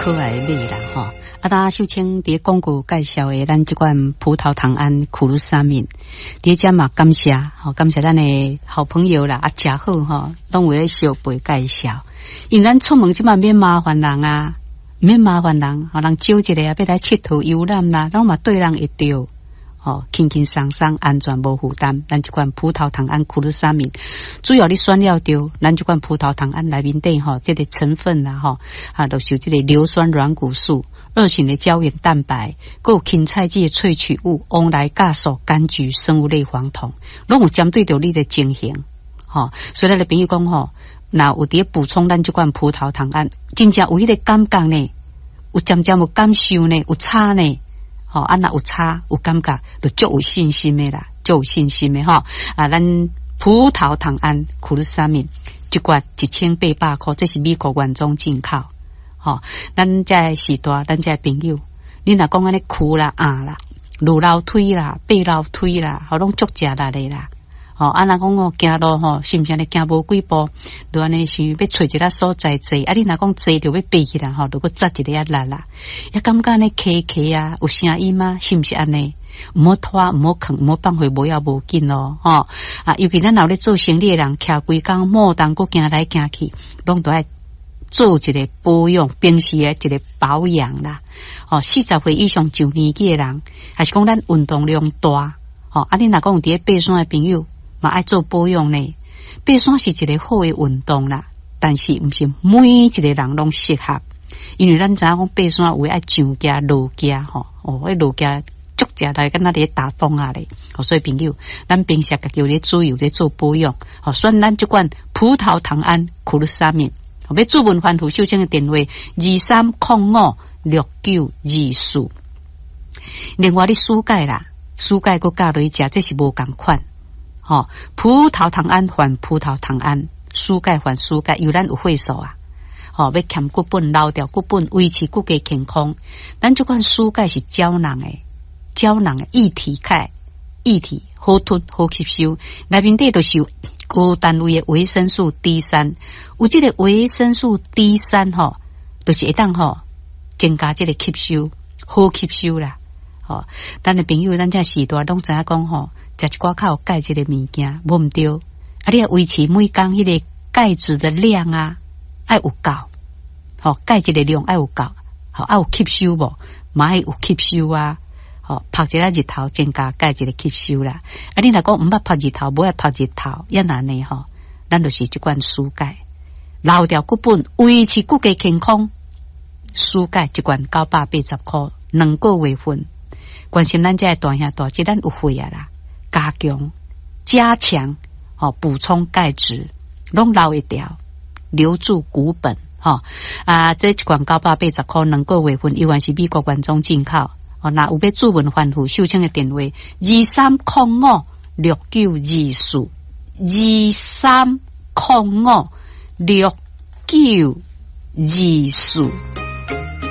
可愛的馬啦吼。啊，剛秀清佇廣告介紹的咱這款葡萄糖胺苦魯沙敏，佇遮嘛感謝吼，感謝咱的好朋友啦，啊，誠好吼，攏有咧相陪介紹。因為咱出門這擺免麻煩人啊，免麻煩人，予人招一个啊，欲來𨑨迌遊覽啦，攏嘛綴人會著。吼，輕輕鬆鬆，安全無負擔。咱這款葡萄糖胺苦魯沙敏，主要你選了著，咱這款葡萄糖胺內面底吼，這個成分啦吼，啊，就是有這個硫酸軟骨素、二型的膠原蛋白，閣有芹菜籽的萃取物、黃來酵素、柑橘生物類黃酮，攏有針對著你的情形。吼，所以咱的朋友講吼，若有佇咧補充咱這款葡萄糖胺，真正有彼個感覺呢，有漸漸有感受呢，有差呢。吼，啊，若有差有感覺，就足有信心的啦，足有信心的吼。啊，咱葡萄糖胺苦魯沙敏一罐1800箍，這是美國原裝進口。吼，咱這个時代，咱這个朋友，你若講按呢跍啦、壓啦、落樓梯啦、爬樓梯啦，吼，攏足食力的啦。吼，啊，若講哦，行路吼，是毋是按呢行無幾步，就按呢想欲揣一个所在坐？啊，你若講坐著欲爬起來吼，就閣扎一个仔力啦。也感覺按呢磕磕啊，有聲音嗎？是毋是按呢？毋好拖，毋好囥，毋好放予無要無緊咯，吼！啊，尤其咱若有咧做生理的人，徛規工莫當閣行來行去，攏都愛做一個保養，平時的一個保養啦。吼，40歲以上上年紀的人，還是講咱運動量大，吼，啊，你若講有佇咧爬山的朋友，嘛愛做保養呢。爬山是一個好的運動啦，但是毋是每一個人攏適合，因為咱知影講爬山有的愛上行落行吼，哦，彼落行足食力，敢若佇咧打樁仔咧。所以朋友，咱平時家己有咧注意，有咧做保養，吼，選咱這款葡萄糖胺苦魯沙敏，欲諮問番婦秀清的電話23056924。另外，你舒鈣啦，舒鈣閣加落去食，這是無仝款。吼，葡萄糖胺還葡萄糖胺，舒鈣還舒鈣，因為咱有會所啊。吼，欲添骨本、留牢骨本，維持骨骼健康。咱這款舒鈣是膠囊的，膠囊的液體鈣，液體好吞好吸收，內面底就是有高單位的維生素 D 三，有這個維生素 D 三吼，就是會當吼增加這個吸收，好吸收啦。吼，咱的朋友，咱這時代攏知影講吼，食一寡較有鈣質的物件，無毋對。啊，你愛維持每工彼個鈣質的量啊，愛有夠，吼，鈣質的量愛有夠，吼，愛有吸收無？嘛愛有吸收啊，吼，曝一下日頭增加鈣質的吸收啦。啊，你若講毋捌曝日頭，無愛曝日頭，也難呢吼。咱就是這款舒鈣，留牢骨本，維持骨骼健康。舒鈣一罐980箍，2個月份。關心咱這个大兄大姐，咱有血壓啦，加強、加強，吼，補充鈣質，攏留會牢，留住骨本，吼啊！這一罐980箍，兩個月份，猶原是美國原裝進口。哦，若有欲諮問番婦秀清的電話：23056924，23056924。